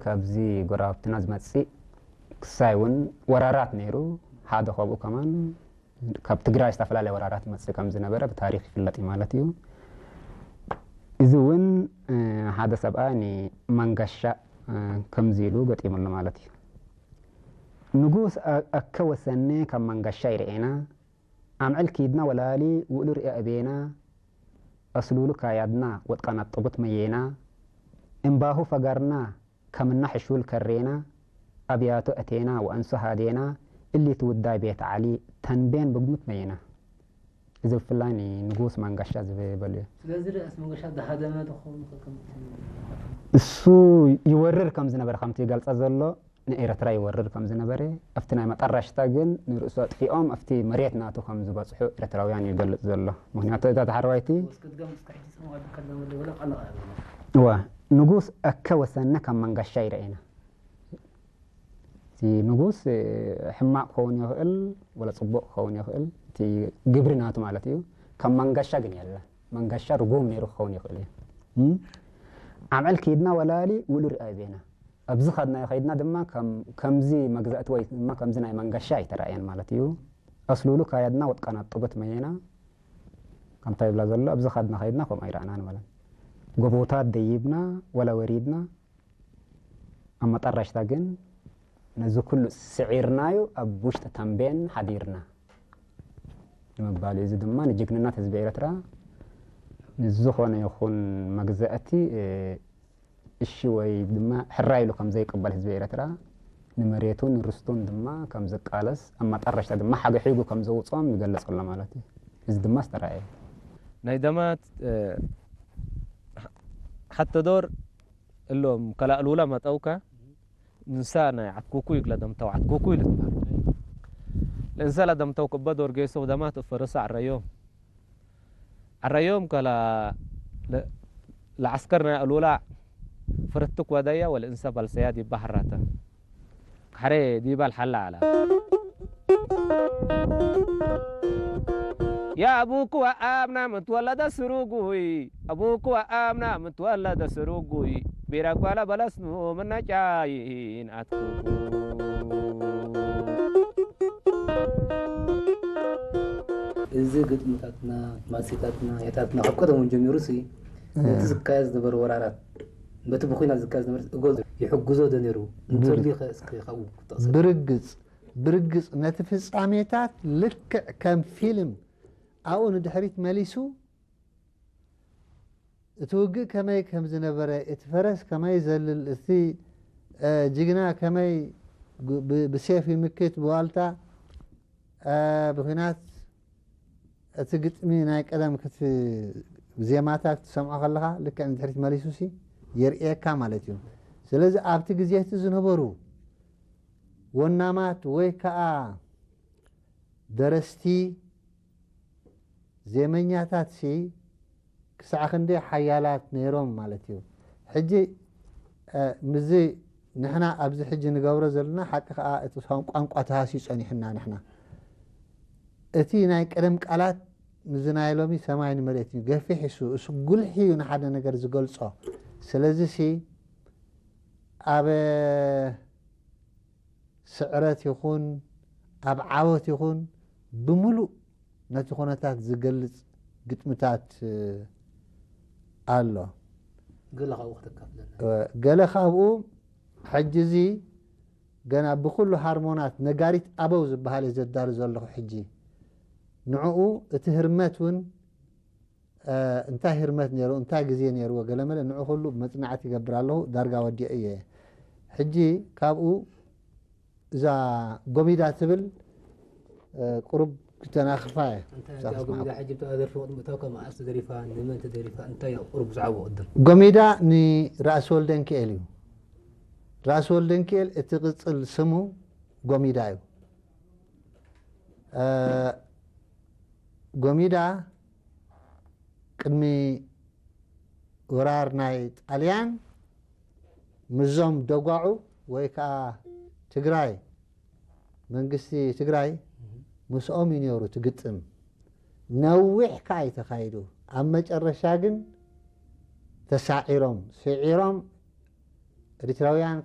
ካብዚ ጎረባብትና ዝመጽእ ክሳይ እውን ወራራት ነይሩ። ሓደ ካብኡ ከማን ካብ ትግራይ ዝተፈላለየ ወራራት ይመጽእ ከም ዝነበረ ብታሪኽ ይፍለጥ እዩ ማለት እዩ። እዚ እውን፣ እ፣ ሓደ ሰብኣይ ንማንጋሻ፣ እ፣ ከምዚ ኢሉ ገጢሙሉ ማለት እዩ። ንጉስ አ-፣ ኣከ ወሰነ ካብ ማንጋሻ ይርኤና፣ ኣምዕል ኪድና ወላሊ ውእሉ ርእ ኣቤና፣ ኣስሉሉ ካያድና ወጥቃና ጥቡት መየና፣ እምባሁ ፈጋርና ከምና ሕሹል ከሬና፣ ኣብያቱ ኣቴና ወኣንሱ ሃዴና፣ እሊ ትውዳይ ቤት ዓሊ ተንቤን ብግሙት መየና። እዚ ብፍላይ ንንጉስ ማንጋሻ ዝበሉ እዩ። ስለዚ ርእስ መንገሻ ዝሃደመ ዶ ክኸውን ይኽእል ከምቲ እሱ ይወርር ከም ዝነበረ ከምቲ ይገልጸ ዘሎ ንኤርትራ ይወርር ከም ዝነበረ ኣብቲ ናይ መጠረሽታ ግን ንርእሱ ኣጥፊኦም ኣብቲ መሬት ናቱ ከም ዝበጽሑ ኤርትራውያን ይገልጽ ዘሎ። ምክንያቱ እዛ ተሓርባይቲ ወስክት ገም እስከ ሕጂ ጽምዋ ከለመ ደወለ ቀለቕ እዋ ንጉስ ኣከ ወሰነ ካብ መንጋሻ ይረኤና። እቲ ንጉስ፣ እ፣ ሕማቕ ክኸውን ይኽእል፣ ወላ ጽቡቕ ክኸውን ይኽእል። እቲ ግብሪ ናቱ ማለት እዩ። ካብ መንጋሻ ግን የለን። መንጋሻ ርጉም ነይሩ ክኸውን ይኽእል እዩ። እም? ዓምዕል ከይድና ወላሊ ውሉ ርኣይ ቤና። ኣብዚ ኸድናዮ ኸይድና ድማ ከም-፣ ከምዚ መግዛእቲ ወይ ድማ ከምዚ ናይ መንጋሻ ኣይተራእየን ማለት እዩ። ኣስሉሉ ካያድና ወጥቃና ጥቡት መየና። ከምታ ይብላ ዘሎ፣ ኣብዚ ኸድና ኸይድና ከምኡ ኣይረኣናን ማለት። ጎቦታት ደይብና ወላ ወሪድና፣ ኣብ መጠረሽታ ግን ነዚ ኩሉ ስዒርናዩ ኣብ ውሽጢ ተምቤን ሓዲርና ንምባል እዩ። እዚ ድማ ንጅግንነት ህዝቢ ኤርትራ ንዝኾነ ይኹን መግዛእቲ፣ እ፣ እሺ ወይ ድማ ሕራይ ኢሉ ከም ዘይቅበል ህዝቢ ኤርትራ ንመሬቱን ርስቱን ድማ ከም ዝቃለስ ኣብ መጠረሽታ ድማ ሓገሒጉ ከም ዘውፅኦም ይገልጽ ኣሎ ማለት እዩ። እዚ ድማ ዝተራእየ እዩ። ናይ ደማት፣ እ፣ ሓ-፣ ሓተ ዶር እሎም ከላእሉላ መጠውካ ንሳ ናይ ዓትኩኩ ይግለ ደምተው ዓትኩኩ ይልትባል። ለእንሰላ ደምተው ክበ ዶር ጌሶ ደማት እፈረሰ ዓረዮም። ዓረዮም ከላ ለ-፣ ለዓስከር ናይ ኣሉላ ፍርትክ ወደያ ወለ እንሰ ባልሰያ ዲባ ሓራተ። ካሕሬ ዲባል ሓላ ዓላ። يا أبوك وأبنا متولد سروقوي، أبوك وأبنا متولد سروقوي، بيرك ولا بلسنو من نجاين أتكوكو. እዚ ግጥምታትና፣ ማሲታትና፣ ያታትና ካብ ቀደም እውን ጀሚሩ ሲ፣ ነቲ ዝካየድ ዝነበረ ወራራት፣ በቲ ብኹናት ዝካየድ ዝነበረ እጎ ይሕግዞ ዶ ነይሩ? እንተልዩ ኸ እስኪ ካብኡ ክትጠቕሰ። ብርግጽ፣ ብርግጽ ነቲ ፍጻሜታት ልክዕ ከም ፊልም ኣብኡ ንድሕሪት መሊሱ እቲ ውግእ ከመይ ከም ዝነበረ፣ እቲ ፈረስ ከመይ ይዘልል፣ እቲ፣ እ፣ ጅግና ከመይ ግ-፣ ብ-፣ ብሴፍ ይምክት፣ ብዋልታ፣ እ፣ ብኲናት፣ እቲ ግጥሚ ናይ ቀደም ክት-፣ ዜማታት ክትሰምዖ ከለኻ ልክዕ ንድሕሪት መሊሱሲ የርእየካ ማለት እዩ። ስለዚ ኣብቲ ግዜ እቲ ዝነበሩ ወናማት ወይ ከኣ ደረስቲ፣ ዜመኛታትሲ ክሳዕ ክንደይ ሓያላት ነይሮም ማለት እዩ። ሕጂ፣ እ፣ ምስዚ ንሕና ኣብዚ ሕጂ ንገብሮ ዘለና ሓቂ ከኣ እቲ ቋን-፣ ቋንቋ ተሃስዩ ጸኒሑና ንሕና። እቲ ናይ ቀደም ቃላት ምስዚ ናይ ሎሚ ሰማይን መሬትን እዩ። ገፊሕ እሱ፣ እሱ ጉልሒ እዩ ንሓደ ነገር ዝገልጾ። ስለዚሲ ኣብ ስዕረት ይኹን ኣብ ዓወት ይኹን ብምሉእ ነቲ ኩነታት ዝገልጽ ግጥምታት፣ እ፣ ኣሎ። ገለ ካብኡ ከተካፍለና። እ፣ ገለ ካብኡ ሕጂ እዚ ገና ብኹሉ ሃርሞናት ነጋሪት ኣበው ዝበሃል እየ ዘዳሉ ዘለኹ ሕጂ። ንዕኡ እቲ ህርመት እውን እ፣ እንታይ ህርመት ነይሩ፣ እንታይ ግዜ ነይርዎ፣ ገለመለ ንዑ ኩሉ መጽናዕቲ ይገብር ኣለኹ፣ ዳርጋ ወዲኤ እየ። ሕጂ ካብኡ እዛ ጎሚዳ ትብል፣ እ፣ ቁሩብ ክተናኽፋ እየ። እንታይ እዛ እዛ ጎሚዳ ክትናኽ-፣ ሕጂ ብታ ደርፊ ቅድሚ እታው ከም መዓስ ተደሪፋ፣ ንመን ተደሪፋ፣ እንታይ እዩ ቁሩብ ብዛዕባኡ ቅድም? ጎሚዳ ንራእሲ ወልደንኪኤል እዩ። ራእሲ ወልደንኪኤል እቲ ቅጽል ስሙ ጎሚዳ እዩ። እ፣ ጎሚዳ ቅድሚ ወራር ናይ ጣልያን ምስዞም ደጓዑ ወይ ከዓ ትግራይ፣ መንግስቲ ትግራይ ምስኦም እዩ ነይሩ እቲ ግጥም። ነዊሕ ከዓ እዩ ተኻይዱ። ኣብ መጨረሻ ግን ተሳዒሮም፣ ስዒሮም ኤርትራውያን